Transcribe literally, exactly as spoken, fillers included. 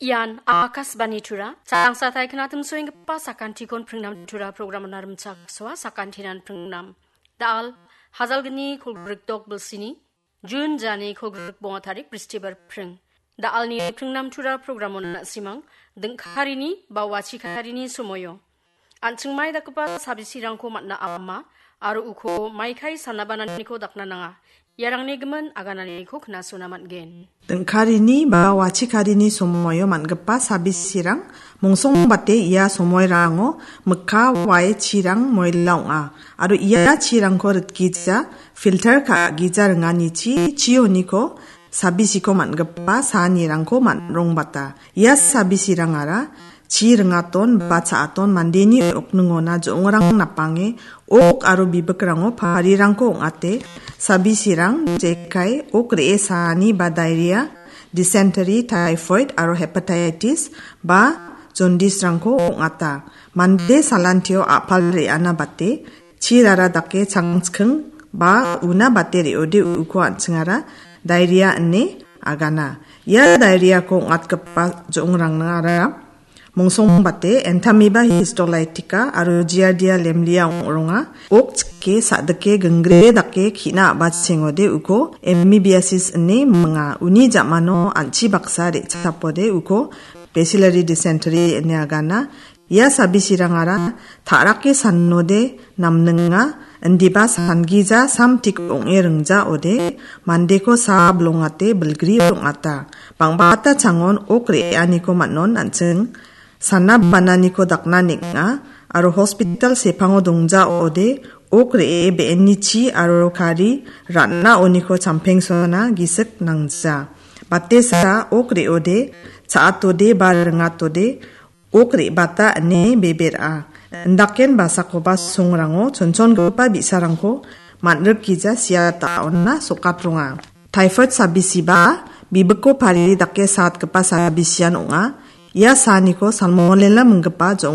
Ian Akashvani Tura, changsatai knatim soenggipa sakantikon pringnam Tura programon rimchaksoa sakantinan pringnam. Dal, hajalgni kolgrikdok bilsini, Jun jani kolgrikbonga tarik bristibar pring. Dalni pringnam Tura programon na·simang, dingkarini ba wachikarini somoio. An·chingmai dakgipa sabisirangko man·a ama, aro uko maikai sanabananiko dakna nanga. Iarangni gimin agananiko knasona man·gen. Dingkarini ba wachikarini somoio man·gipa sabisirang mongsongbate ia somoirango mikka wae chirang moila ong·a. Aro ia chirangko ritgija, filter ka·gija ringanichi chioniko sabisiko man·gipa saanirangko man·rongbata. Ia sabisirangara chi ringaton ba cha·aton mandeni okningona jo·ongrang napange ok aro bibikrango parirangko ong·ate, sabisirang jekai ok re·e saani ba diarrhea, dysentery, typhoid aro hepatitis ba jondisrangko ong·ata. Mande salantio a·pal re·ana bate, chirara dake changchking ba una bate re·ode uko an·chingara diarrhea ine agana. Ia diarrheako ong·atgipa jo·ongrangara mongsongbate Entamoeba histolytica aro Giardia lamblia ong·ronga. Ok chike sa·dike gingre dake ki·na a·bachengode uko amoebiasis ine minga. Uni ja·mano an·chi baksa re·chapode uko bacillary dysentery ine agana. Ia sabisirangara ta·rake sanode namninga, indiba sangija samtik ong·e ringjaode, mandeko sa bilongate bilgri ong·ata. Bang·bata changon ok re·aniko man·on an·ching sana bananiko dakna neng·a, aro hospital sepango dongjaode, ok re·e be·enichi aro kari ra·naoniko champengsona gisik nangja. Batesa ok re·ode, cha·atode ba ringatode, ok re·bata ine bebe ra·a. Indaken basakoba songrango chonchongipa bi·sarangko man·rikgija sia ta·ona sokatronga. Typhoid sabisiba bibiko pari dake satgipa sabisian ong·a. Ia saaniko salmonella minggipa